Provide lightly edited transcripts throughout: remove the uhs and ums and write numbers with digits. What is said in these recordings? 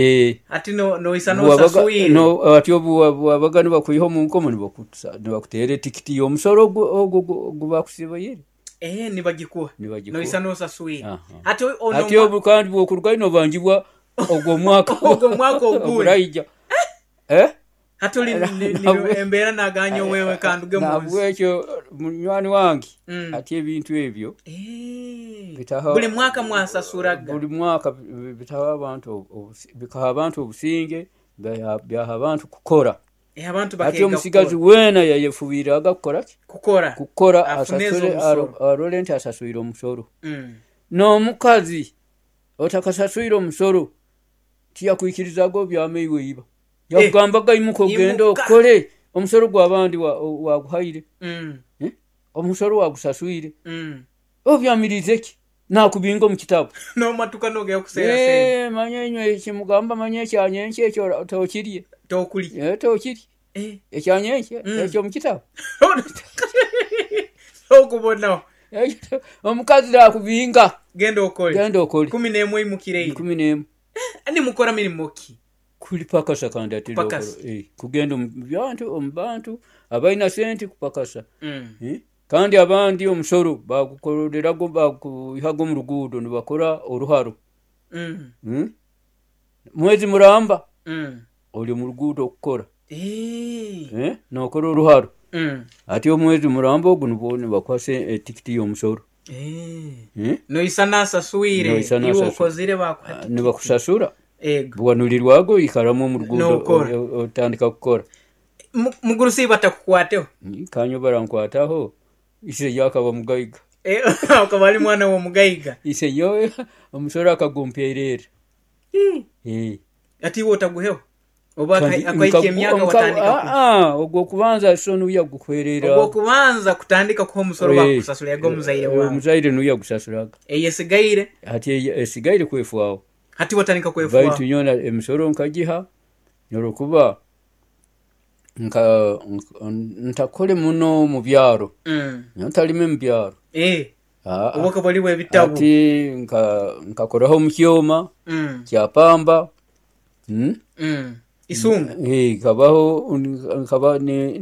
Hati noisa Bwabaga n'osaswire. No, ati obu bwabaga nibakwiha omu nkomo nibakuteera etikiti y'omusoro ogu ogu bakusibaire. Eh, nibagikuha. Nibagikuha. Noisa n'osaswire. Aha. Hati ono Hati obu kandi bwokurugayo nobangibwa ogwo omwaka Ogwo omwaka ogundi. Oguraija. Eh? Hati oli embeera naganya wewe kanduge mu nsi. Nahabwekyo munywani wange hati ebintu ebyo Eh. bitaha Buli mwaka mwasasuraga. Buli mwaka bitaha abantu bikaha abantu obusinge, byaha abantu kukora. Eh, abantu Hati bakeega omusigazi kukora. weena yayefubiiraga kukora ki? Kukora. Kukora Afune asasule ez'omusoro. arole nti asaswire omusoro. N'omukazi otakasaswire omusoro tiyakwikirizaga obyame iwe iba. Yakugambaga imuka ogende Imuka. okole omusoro gw'abandi waguhaire. Eh? Omusoro wagusaswire. Obyamirize ki? Nakubinga omu kitabu. Nomatuka nogenda kuseera sente. Eh, manya inywe ekimugamba manya ekyanyenkya ekyo tokirye. Tokulya. Eh, tokirye. Eh. Ekyanyenkya ekyo omu kitabu. Okubonaho. Omukazi nakubinga. Genda okole. Genda okole. 11 imukireyo. 11. Nimukora mirimo ki? Kulipakasa kandi ati Kupakasa. Eh, kugenda omu bantu omu bantu abalina sente kupakasa. Eh? Kandi abandi omusoro bagukorerago baguihaga omu ruguudo nibakora oruharo. Mwezi muramba ori omu ruguudo okukora. Eh. Eh? Nokora oruharo. Hati omwezi muramba ogu nibwo nibakuha etikiti y'omusoro. Eh. Eh? Noisa nasaswire. Noisa Iwe nasaswire. okozire bakuha tikiti. Nibakusasura. Ego. Bwanulirwago oikaramu omu ruguudo Nokora. otandika kukora. Mugurusi batakukwataho. Kanyo barankwataho ise yakaba mugaiga. Eh, akaba ali mwana w'omugaiga. Ise nyowe omusoro akagumperera. Eh. Ati iwe otaguheho? Oba Kandi akahika emyaka watandika ogwo okubanza so nuya guhwerera. Ogwo okubanza kutandika kuha omusoro bakusasuraga omuzaire wawe. Omuzaire nuya gusasuraga. Eyesigaire? Hati esigaire kwefwaho. Hati watandika kwefwaho. Baitu nyona emisoro nkagiha olwokuba nka ntakole muno mu byaro. Ntalime mu byaro. Eh. Oba okaba oli w'ebitabu. Hati nkakoraho omu kyoma kya pamba. Isunga. Eh, nkabaho nkaba ni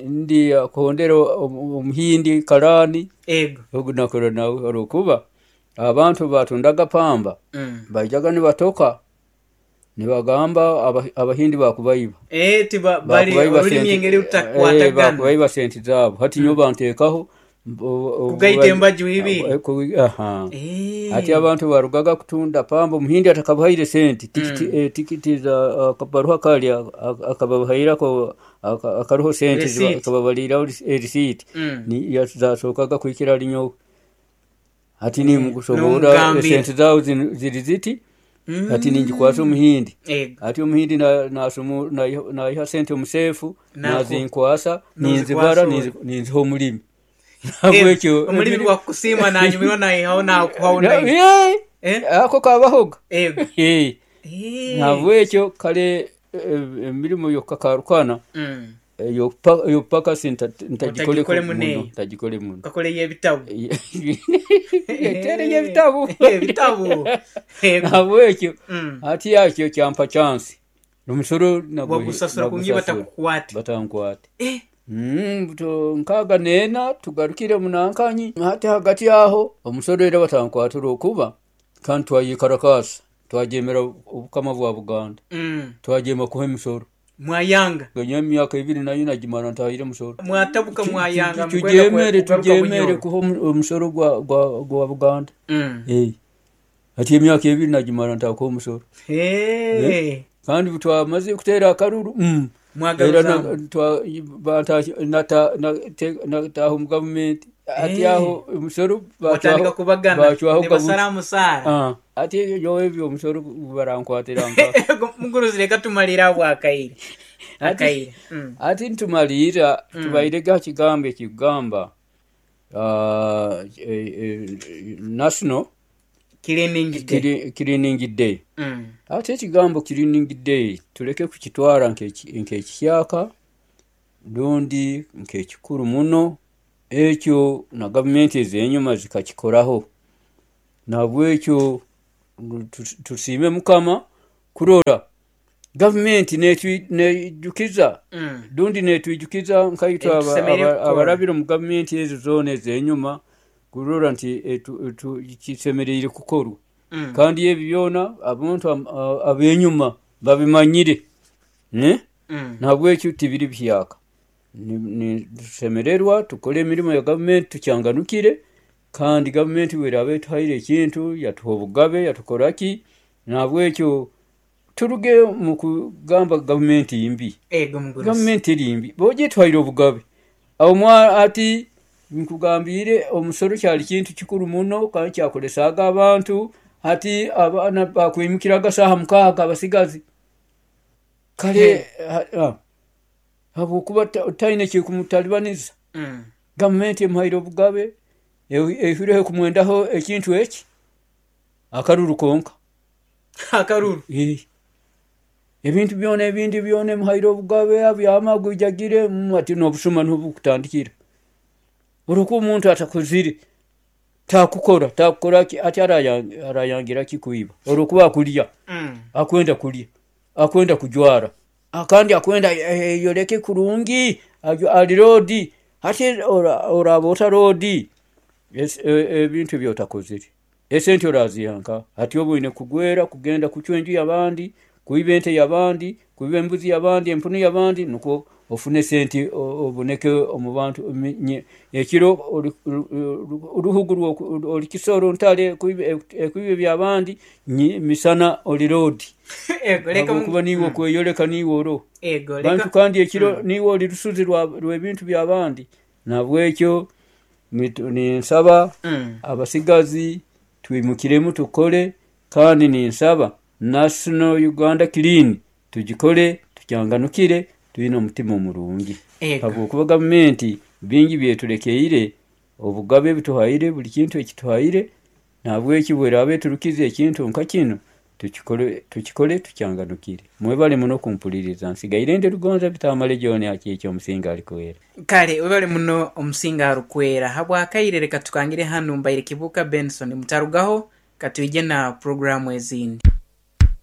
ndi kuhondera omuhindi karani. Ego. Ogu nakora nawe olwokuba abantu batundaga pamba baijaga nibatoka nibagamba abahindi bakubaiba. Eh, tiba bali Bakubaiba olulimi sente engeri rutakwatagana. Bakubaiba sente zaabo. Hati nyowe banteekaho Kugaita embaju ibiri. Aha. Eh. Hati abantu barugaga kutunda pamba omuhindi atakabahaire sente tikiti tikiti za akabaruha kali akabahairako akaruho sente Receipt. akababaliraho receipt. Ni zasookaga kuhikira hali nyowe. Hati nimukusobola N'omugambira. sente zaawe ziri ziti hati ningikwasa omuhindi. Ego. Hati omuhindi naiha sente omuseefu Nako. nazinkwasa Nozikwasa ninzibara owe. ninziha omulimi. Nahabwekyo Omulimi gwakusiima nanyumirwa naihaho nakuhaho naiwe. Eh, Eh? ako kabahoga. Ego. Eh. Eh. Nahabwekyo kale emirimu yokukakarukana ey'okupakasa ntagikole Otagikole muno, muno. ntagikole muno. Okakola ey'ebitabu. Etere y'ebitabu. Ebitabu. Ego. Nahabwekyo hati yakyo kyampa chance. Omusoro Wagusasura kungi nagusasura. batakukwate. Batankwate. Eh. 4 tugarukire munankanyi hati hagati aho omusoro era batankwata olwokuba kandi twayekarakaasa twagyemera obukama bwa Buganda. Twagyema kuha emisoro. Mwayanga. Nyowe emyaka 2 nayo nagimara ntahire omusoro. Mwatabuka mwayanga Tugyemere mukwenda kugaruka tugyemere Bunyoro. kuha omusoro gwa Buganda. Eh. Hati emyaka 2 nagimara ntakuha omusoro. Eh. Kandi twamaze kuteera akaruru. Mwagaruzamu. Era nataha omu gavumenti. Hati aho omusoro Watandika kubagana. bacwaho Nibasara musaara. Hati nyowe ebyo omusoro barankwatira nka. Muguruzi reka tumalire aho akaire. Akaire. Hati nitumalira tubairege aha kigambo ekikugamba National Cleaning Day. Cleaning Day. Ate ekigambo Cleaning Day tuleke kukitwara nk'ekihyaka rundi nk'ekikuru muno ekyo na gavumenti ez'enyuma zikakikoraho. Nahabwekyo tusiime Mukama Kurora gavumenti neejukiza rundi neetwijukiza nkaitwe Ebitusemeriire kukora. Abarabire omu gavumenti ezo zoona ez'enyuma kurora nti kisemeriire kukorwa. Kandi ebi byona abantu ab'enyuma babimanyire, eh? Nahabwekyo tibiri bihyaka. Nitusemererwa tukole emirimo ya gavumenti tukyanganukire, kandi gavumenti obu eraaba etuhaire ekintu, yatuha obugabe, yatukora ki, nahabwekyo turuge omu kugamba gavumenti mbi. Ego mugurusi. Gavumenti eri mbi, bojo etuhaire obugabe. Omwe ati nkugambiire omusoro kyali kintu kikuru muno kandi kyakolesaaga abantu, hati abaana bakwimukiraga saaha 6 abasigazi. Kare habwokuba taine ekikumutalibaniza. Gavumenti emuhaire obugabe, eihireho kumwendaho ekintu eki, akaruru konka. Akaruru. Ebintu byona ebindi byona emuhaire obugabe, abyama agwijagire, ati n'obusuma nuho bukutandikira. Olwokuba omuntu atakozire, takukora, takukora ki, ati arayangira ki kwiba? Olwokuba akulya, akwenda kulya, akwenda kujwara, kandi akwenda ayeyoleke kurungi, ali roodi. Hati oraaba ota roodi, ebintu ebi otakozire, esente oraziiha nkaha? Hati obu oine kugwera kugenda kucwa enju y'abandi, kwiba ente y'abandi, kwiba embuzi y'abandi, empunu y'abandi, nukwo ofune sente oboneke omu bantu. Ekiro oruhugu ori kisoro ntale ekwiba eby'abandi, misana ori roodi. Ego leka Habwokuba niiwe okweyoleka niiwe oroho. Ego leka Bantu kandi ekiro niiwe ori rusuzi rw'ebintu by'abandi. Nahabwekyo ninsaba abasigazi twimukiremu tukole, kandi ninsaba National Uganda Clean tugikole tukyanganukire twine omutima omurungi. Ego. Habwokuba gavumenti bingi byeturekeire, obugabe ebituhaire, buli kintu ekituhaire, nahabwekyo obu eraaba eturukize ekintu nka kinu, tukikole tukyanganukire. Mwebale muno kumpuliriza, nsigaire ndi Rugonza Bitamale John Akiiki omusinga arikwera. Kale webale muno omusinga arukwera. Habwakaire leka tukangire hanu mbaire Kibuuka Benson mutarugaho katwije na puroguramu ezindi.